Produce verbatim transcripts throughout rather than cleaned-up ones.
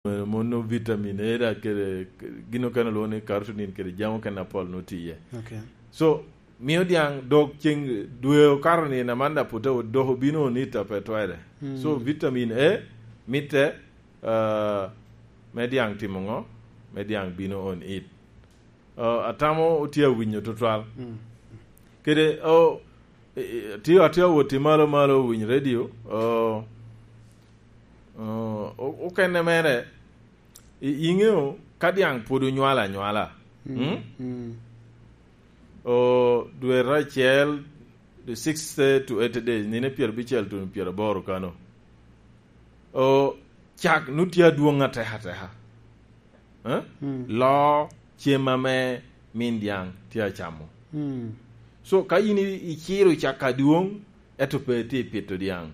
mono vitamin A da kede gin okene olwoŋo ni carotene kede jami okene apol nwoŋo tye iye. Okay. So, mio diaŋ dok ceŋ dwe okato ni na man da pute dok obino on it a pe twere. Mm. So, vitamin A mitte, ah, me diaŋ timo ŋo? Me diaŋ bino on it. Ah, atamo otye awinyo tutwal. Mm. Kede, oh, i-, i-, tye, atye awot i malo malo winyo radio, oh, oh, o-, okene mere, i-, iŋeo ka diaŋ pwod onywalo anywala, mm? Mm. Mm. O, dwe acel, the sixth to eighth days, nino pyerabicel tuno pyeraboro kano. O, cak nu tye adwoŋ ateka ateka. Eh? Mm. Loo cem ame min diaŋ tye acamo. Mm. So, ka yin i-, iciro cak adwoŋ, ento pe itye pito diaŋ.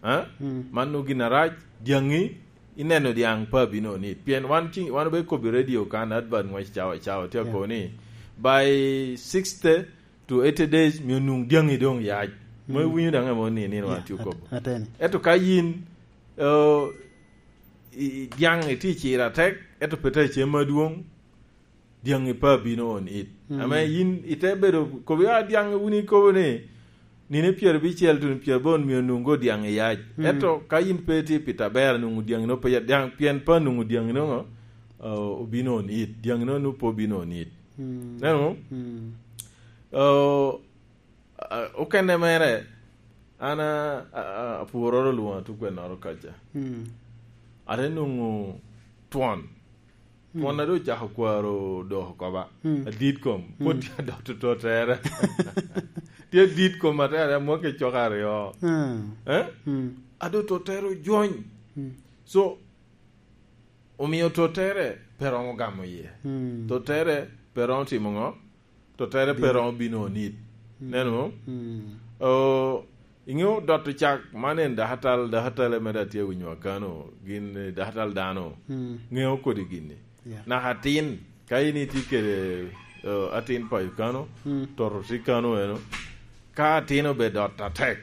Eh? Mm. Man nu gin arac, diaŋi, ineno diaŋ pe abino nit. Pien wan ci-, wan obe kobo i radio kan, advert ŋwec cawa cawa, tye, yeah, akobo ni, by sixty to eighty days, mio nwoŋo diaŋi doŋ yac. Mo, mm, iwinyo daŋ amo ni, ni wan, yeah, tye at-, okobo. Ateni. Ento ka yin, eh, i-, i-, diaŋ itye i ciro atek, ento pe tye cem adwoŋ, diaŋi pe abino on it. Mm. Ame yin ite bedo, kobo ya diaŋ wun ikobo ni, nino pyerabicel tuno pyeraboro mio nwoŋo diaŋi yac. Mm. Ento ka yin pe itye pito aber, nwoŋo diaŋi no pe ya-, diaŋ, pien pe nwoŋo diaŋi no, uh, obino on it. Diaŋi no nwoŋo pe obino on it. Mm. Neno? Mm. Uh, uh, okene mere, an a, a, a, apwuroro lwoŋa tukwennoro kaca. Mm. Ate nwoŋo twon. Mm. Twon a doŋ ocako kwaro dok oko ba. Mm. Adit kom. Pwod, mm, tye adot totere. Tye adit kom atere, amwaki cok aryo. Mm. Eh? Mm. A doŋ totere ojony. Mm. So, omio totere pe romo gamo iye. Mm. Totere pe romo timo ŋo? Totere pe, bino, romo bino onit. Mm. Neno? Mm. O, iŋeo dot cak man en dakatal, dakatal ame da tye awinyo akano, gin, eh, dakatal dano. Mm. Ŋeo kodi gini. Yeah. Naka atin, ka in itye kede, eh, atin payo kano, mm, toto tye kano eno, ka atin obe dot atek,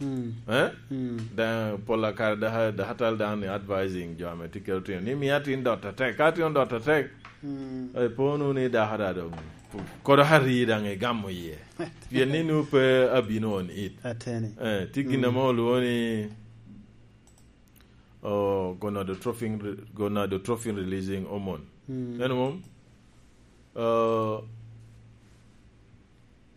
mm, eh? Mm. Da-, pol akare da-, dakatal dano ni advising jo ame tye kede otino ni, "Mi atin dot atek." Ka atin odot atek, mm, eh, po nu ni dako da doŋ, kodo ari daŋ igamo iye. Pien ni nu pe abino on it. Ateni. Eh, tye gin, mm, ame olwoŋo ni, oh, gonadotropin re-, gonadotropin releasing hormone. Mm. Eno mom? Uh,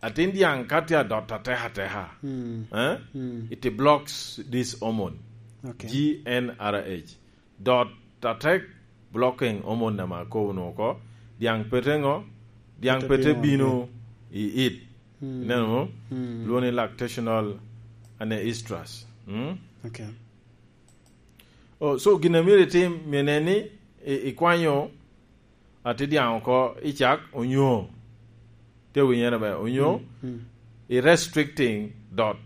atin diaŋ ka tye adot ateka ateka, mm, eh? Mm. It blocks this hormone, okay, G N R H. Dot atek blocking hormone ame akobo nu oko. Diaŋ pete ŋo? Diaŋ pete, pete bino, bino i it. Mm. Ineno mo? Mm. Lwoŋo ni lactational ane estrus. Mm? Okay. Oh, so gin a myero itim, myero inen ni i-, ikwanyo atin diaŋ oko i cak, onyo, tye winyere ber, onyo, mm, mm, i restricting dot,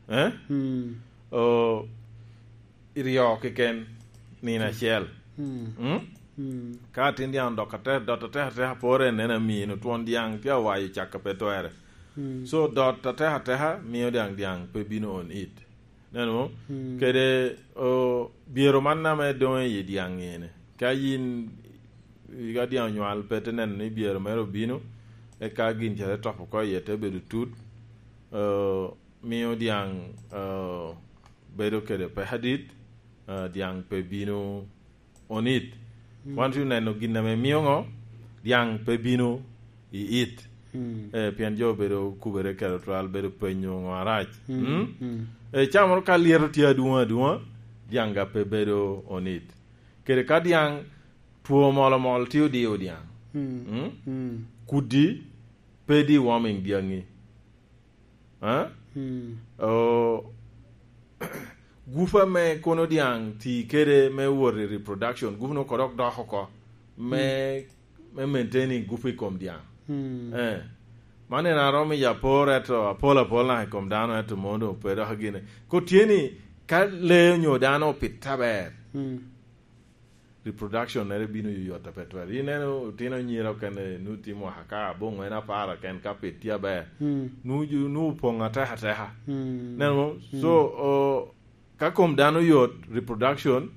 eh? Mm. Oh, i ryo keken nino acel. Mm. Mm? Mm. Ka atin diaŋ dot atek, dot atek ateka pore en en amino twon diaŋ tye awayo cak a pe twere. Mm. So, dot atek ateka mio diaŋ, diaŋ pe bino on it. Neno? Mm. Kede, o, byero man ame doŋ i diaŋ ene. Ka yin, ka diaŋ onywal pe te neno ni byero mere obino, eka gin ca te top oko iye te bedo tut, o, mio diaŋ, o, bedo kede peko adit, o, diaŋ pe bino on it. Mm. Wan tye oneno gin ame mio ŋo? Diaŋ pe bino i it. Mm. Eh, pien jo obedo kubere kede otwal, bedo penyo ŋo arac. Mm, mm. Mm? Mm. Eh, camoro ka lyeto tye adwoŋ adwoŋa, diaŋ ga pe bedo on it. Kede ka diaŋ two mol omol tye odiyo diaŋ. Mm. Mm? Mm. Kudi pe deworming diaŋi. Eh? Hmm. O, gup ame kono diaŋ ti kede me wot i reproduction, gup no kodok dok oko me, hmm, me maintaining gup i kom diaŋ. Hmm. Eh. Man en aromo i apor, eto apol apol naka i kom dano, eto mono doŋ pe dok gine. Ko tye ni, ka lee onyo dano opit aber, hmm, reproduction mere bino yoyot a pe twere. Ineno otino anyira okene nu tye mwaka ka aboŋo en apar oken ka pit tye aber. Mm. Nu ju-, nu opoŋ ateka ateka. Mm. Neno mo? Mm. So, o, ka kom dano yot, reproduction